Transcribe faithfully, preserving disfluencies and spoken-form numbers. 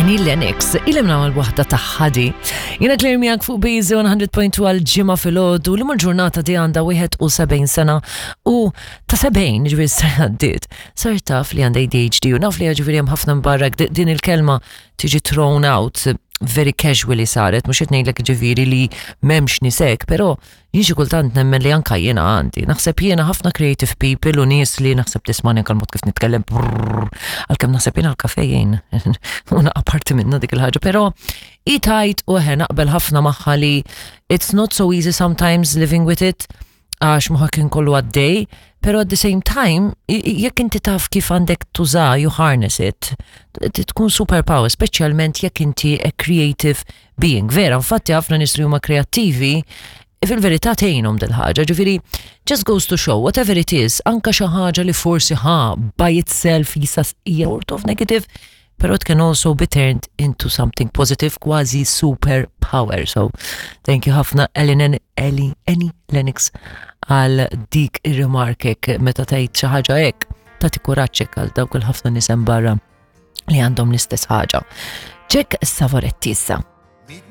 Annie Lennox, ilem nagħmel waħda ta' ħadi. Jiena Claire miegħek fuq B Z one hundred point two għal Ġimgħa filgħodu li mal-ġurnata di għandha wieħed u sebgħin sena u ta' sebgħin, ġifieri sena għaddiet. Sar taf li għandha A D H D u naf li, ġifieri, hemm ħafna mbarrak din il-kelma tiġi thrown out very casually saret, mhux qed ngħidlek, ġifieri, li m'hemmx nies hekk, però jien xi kultant nemmen li anka jiena għandi. Naħseb jiena ħafna creative people u nies li naħseb tismani anka l-mod kif nitkellem brrr, għalkemm naħseb jiena l-kafe jien u apparti minna dik il-ħaġa, però i tajt u eħe naqbel ħafna magħha li it's not so easy sometimes living with it għax moħħok kien kollu għaddej, pero at the same time, jekk inti taf kif għandek tuża, you harness it, tkun superpower, speċjalment jekk inti a creative being. Vera, infatti ħafna nies li huma kreattivi, fil-verità tgħinhom dil-ħaġa, ġifieri, just goes to show, whatever it is, anka xi ħaġa li forsi ħa by itself jisa hija sort of negative, pero it can also be turned into something positive, kważi superpower. So, thank you ħafna, Ellen, Ellie, Annie Lennox, għal dik ir-remark meta tgħid xi ħaġa hekk, tagħti kuraġġ għal dawk il-ħafna nies hemm barra li għandhom l-istess ħaġa. Jack Savoretti issa.